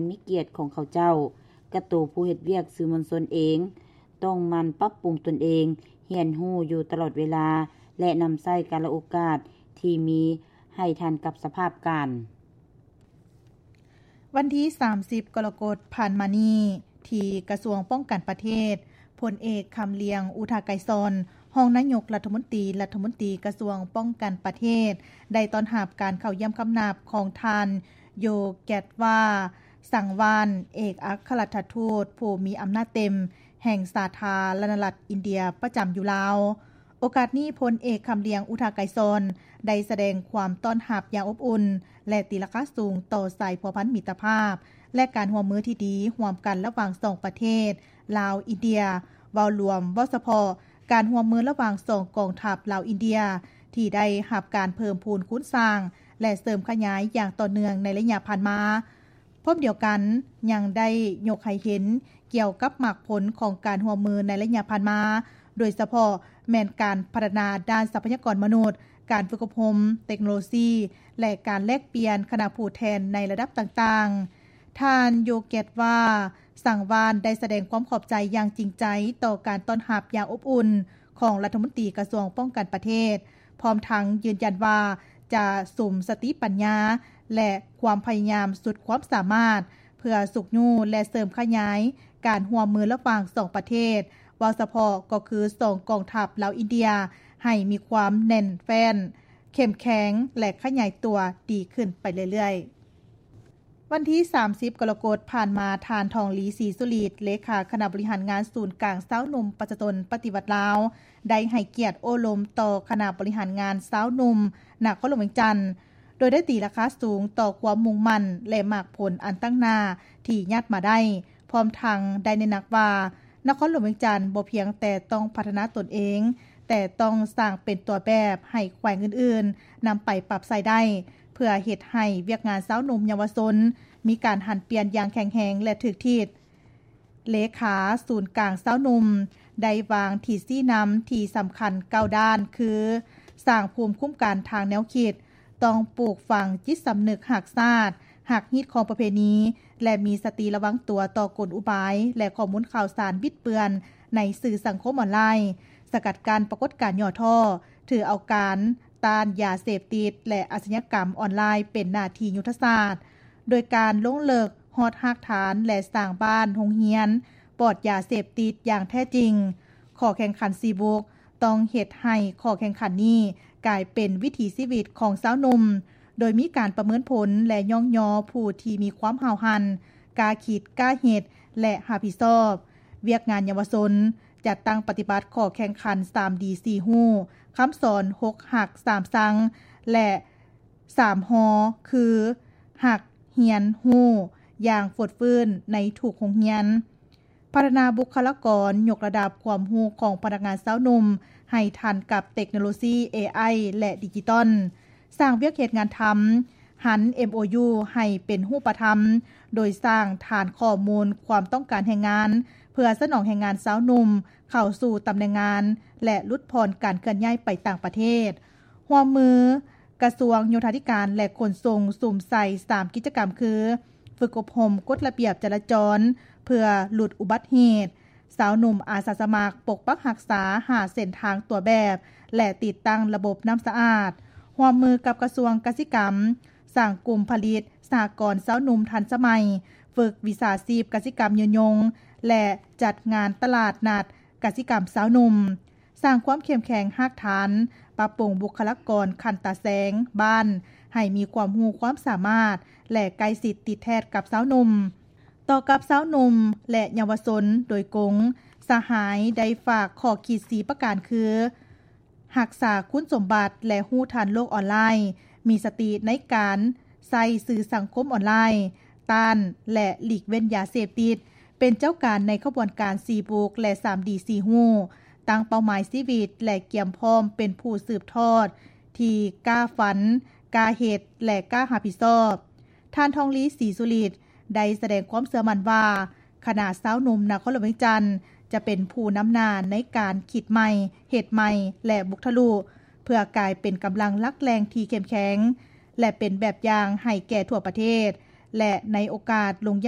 ມີກຽດຂອງເຂົາເຈົ້າ. ກະໂຕຜູ້ເຮັດວຽກສື່ມວນຊົນເອງ ຕ້ອງໝັ່ນປັບປຸງຕົນເອງ, ຮຽນຮູ້ຢູ່ຕະຫຼອດເວລາ ແລະ ນຳໃຊ້ກາລະໂອກາດທີ່ມີໃຫ້ທັນກັບສະພາບການ. ວັນທີສາມສິບ ກໍລະກົດຜ່ານມານີ້ ທີ່ກະຊວງປ້ອງກັນປະເທດ, ພົນເອກ ຄຳລຽງ ອຸທາໄກສອນ ຮອງນາຍົກລັດຖະມົນຕີ, ລັດຖະມົນຕີກະຊວງປ້ອງກັນປະເທດ ໄດ້ຕ້ອນຮັບການເຂົ້າຢ້ຽມຄຳນັບຂອງທ່ານ ໂຢແກດວາ ສັງວານ ເອກອັກຄະລັດຖະທູດຜູ້ມີອຳນາດເຕັມແຫ່ງສາທາລະນະລັດອິນເດຍປະຈຳຢູ່ລາວ. ໂອກາດນີ້, ພົນເອກ ຄຳລຽງ ອຸທາໄກສອນ ໄດ້ສະແດງຄວາມຕ້ອນຮັບຢ່າງອົບອຸ່ນ ແລະ ຕີລາຄາສູງຕໍ່ສາຍພົວພັນມິດຕະພາບ ແລະ ການຮ່ວມມືທີ່ດີຮ່ວມກັນລະຫວ່າງສອງປະເທດ ລາວ-ອິນເດຍ. ເວົ້າລວມ, ເວົ້າສະເພາະ ການຮ່ວມມືລະຫວ່າງສອງກອງທັບລາວ-ອິນເດຍ ທີ່ໄດ້ຮັບການເພີ່ມພູນຄູນສ້າງ ແລະ ເສີມຂະຫຍາຍຢ່າງຕໍ່ເນື່ອງໃນໄລຍະຜ່ານມາ. ພ້ອມດຽວກັນ, ຍັງໄດ້ຍົກໃຫ້ເຫັນກ່ຽວກັບໝາກຜົນຂອງການຮ່ວມມືໃນໄລຍະຜ່ານມາ, ໂດຍສະເພາະແມ່ນການພັດທະນາດ້ານຊັບພະຍາກອນມະນຸດ, ການຝຶກອົບຮົມ, ເຕັກໂນໂລຊີ ແລະ ການແລກປ່ຽນຄະນະຜູ້ແທນໃນລະດັບຕ່າງໆ. ທ່ານ ໂຢແກດວາ ສັງວານ ໄດ້ສະແດງຄວາມຂອບໃຈຢ່າງຈິງໃຈຕໍ່ການຕ້ອນຮັບຢ່າງອົບອຸ່ນຂອງລັດຖະມົນຕີກະຊວງປ້ອງກັນປະເທດ, ພ້ອມທັງຢືນຢັນວ່າຈະສຸມສະຕິປັນຍາ ແລະ ຄວາມພະຍາຍາມສຸດຄວາມສາມາດ ເພື່ອຊຸກຍູ້ ແລະ ເສີມຂະຫຍາຍການຮ່ວມມືລະຫວ່າງສອງປະເທດ, ເວົ້າສະເພາະກໍຄືສອງກອງທັບລາວ-ອິນເດຍ ໃຫ້ມີຄວາມແໜ້ນແຟ້ນ, ເຂັ້ມແຂງ ແລະ ຂະຫຍາຍຕົວດີຂຶ້ນໄປເລື້ອຍໆ. ວັນທີສາມສິບ ກໍລະກົດຜ່ານມາ, ທ່ານ ທອງລີ ສີສຸລິດ ເລຂາຄະນະບໍລິຫານງານສູນກາງຊາວໜຸ່ມປະຊາຊົນປະຕິວັດລາວ ໄດ້ໃຫ້ກຽດໂອ້ລົມຕໍ່ຄະນະບໍລິຫານງານຊາວໜຸ່ມນະຄອນຫຼວງວຽງຈັນ, ໂດຍໄດ້ຕີລາຄາສູງຕໍ່ຄວາມມຸ່ງໝັ້ນ ແລະ ໝາກຜົນອັນຕັ້ງໜ້າທີ່ຍາດມາໄດ້, ພ້ອມທັງໄດ້ເນັ້ນໜັກວ່າ ນະຄອນຫຼວງວຽງຈັນບໍ່ພຽງແຕ່ຕ້ອງພັດທະນາຕົນເອງ, ແຕ່ຕ້ອງສ້າງເປັນຕົວແບບໃຫ້ແຂວງອື່ນໆນຳໄປປັບໃຊ້ໄດ້, ເພື່ອເຮັດໃຫ້ວຽກງານຊາວໜຸ່ມເຍົາວະຊົນມີການຫັນປ່ຽນຢ່າງແຂງແຮງ ແລະ ຖືກທິດ. ເລຂາສູນກາງຊາວໜຸ່ມໄດ້ວາງທິດຊີ້ນຳທີ່ສຳຄັນເກົ້າດ້ານ ຄື ສ້າງພູມຄຸ້ມກັນທາງແນວຄິດ, ຕ້ອງປູກຝັງຈິດສຳນຶກຮັກຊາດ, ຮັກຮີດຄອງປະເພນີ ແລະ ມີສະຕິລະວັງຕົວຕໍ່ກົນອຸບາຍ ແລະ ຂໍ້ມູນຂ່າວສານບິດເບືອນໃນສື່ສັງຄົມອອນລາຍ, ສະກັດກັ້ນປາກົດການຫຍໍ້ທໍ້, ຖືເອົາການ ຕ້ານຢາເສບຕິດ ແລະ ອາຊະຍາກຳອອນລາຍເປັນໜ້າທີ່ຍຸດທະສາດ, ໂດຍການລົງເລິກຮອດຮາກຖານ ແລະ ສ້າງບ້ານໂຮງຮຽນປອດຢາເສບຕິດຢ່າງແທ້ຈິງ. ຂໍ້ແຂ່ງຂັນສີ່ບຸກ ຕ້ອງເຮັດໃຫ້ຂໍ້ແຂ່ງຂັນນີ້ກາຍເປັນວິຖີຊີວິດຂອງຊາວໜຸ່ມ, ໂດຍມີການປະເມີນຜົນ ແລະ ຍ້ອງຍໍຜູ້ທີ່ມີຄວາມຫ້າວຫັນ, ກ້າຄິດ, ກ້າເຮັດ ແລະ ຮັບຜິດຊອບວຽກງານເຍົາວະຊົນ, ຈັດຕັ້ງປະຕິບັດຂໍ້ແຂ່ງຂັນສາມດີສີ່ຮູ້, ຄຳສອນຫົກຮັກສາມຊັງ ແລະ ສາມຮ ຄື ຮັກ, ຮຽນ, ຮູ້ ຢ່າງຟົດຟື້ນໃນທຸກໂຮງຮຽນ. ພັດທະນາບຸກຄະລາກອນ, ຍົກລະດັບຄວາມຮູ້ຂອງພະນັກງານຊາວໜຸ່ມໃຫ້ທັນກັບເຕັກໂນໂລຊີ ເອໄອ ແລະ ດິຈິຕອນ. ສ້າງວຽກເຮັດງານທຳ, ຫັນ ເອັມໂອຢູ ໃຫ້ເປັນຮູບປະທຳ, ໂດຍສ້າງຖານຂໍ້ມູນຄວາມຕ້ອງການແຮງງານ ເພື່ອສະໜອງແຮງງານຊາວໜຸ່ມເຂົ້າສູ່ຕຳແໜ່ງງານ ແລະ ຫຼຸດຜ່ອນການເຄື່ອນຍ້າຍໄປຕ່າງປະເທດ. ຮ່ວມມືກະຊວງໂຍທາທິການ ແລະ ຂົນສົ່ງ ສຸມໃສ່ສາມກິດຈະກຳຄື ຝຶກອົບຮົມກົດລະບຽບຈະລາຈອນເພື່ອຫຼຸດອຸບັດເຫດ, ຊາວໜຸ່ມອາສາສະໝັກປົກປັກຮັກສາຫ້າເສັ້ນທາງຕົວແບບ ແລະ ຕິດຕັ້ງລະບົບນ້ຳສະອາດ. ຮ່ວມມືກັບກະຊວງກະສິກຳ, ສ້າງກຸ່ມຜະລິດສະຫະກອນຊາວໜຸ່ມທັນສະໄໝ, ຝຶກວິຊາຊີບກະສິກຳຍືນຍົງ ແລະ ຈັດງານຕະຫຼາດນັດກະສິກຳຊາວໜຸ່ມ. ສ້າງຄວາມເຂັ້ມແຂງຮາກຖານ, ປັບປຸງບຸກຄະລາກອນຂັ້ນຕາແສງບ້ານ ໃຫ້ມີຄວາມຮູ້ຄວາມສາມາດ ແລະ ໃກ້ຊິດຕິດແທດກັບຊາວໜຸ່ມ. ຕໍ່ກັບຊາວໜຸ່ມ ແລະ ເຍົາວະຊົນໂດຍກົງ, ສະຫາຍໄດ້ຝາກຂໍ້ຄິດສີ່ປະການຄື ຮັກສາຄຸນສົມບັດ ແລະ ຮູ້ທັນໂລກອອນລາຍ, ມີສະຕິໃນການໃຊ້ສື່ສັງຄົມອອນລາຍ, ຕ້ານ ແລະ ຫຼີກເວັ້ນຢາເສບຕິດ, ເປັນເຈົ້າການໃນຂະບວນການສີ່ບຸກ ແລະ ສາມດີສີ່ຮູ້, ຕັ້ງເປົ້າໝາຍຊີວິດ ແລະ ກຽມພ້ອມເປັນຜູ້ສືບທອດທີ່ກ້າຝັນ, ກ້າເຮັດ ແລະ ກ້າຮັບຜິດຊອບ. ທ່ານ ທອງລີ ສີສຸລິດ ໄດ້ສະແດງຄວາມເຊື່ອໝັ້ນວ່າ ຄະນະຊາວໜຸ່ມນະຄອນຫຼວງວຽງຈັນ ຈະເປັນຜູ້ນຳໜ້າໃນການຄິດໃໝ່, ເຮັດໃໝ່ ແລະ ບຸກທະລຸ ເພື່ອກາຍເປັນກຳລັງຫຼັກແຫຼ່ງທີ່ເຂັ້ມແຂງ ແລະ ເປັນແບບຢ່າງໃຫ້ແກ່ທົ່ວປະເທດ ແລະ ໃນໂອກາດລົງຢ້ຽມ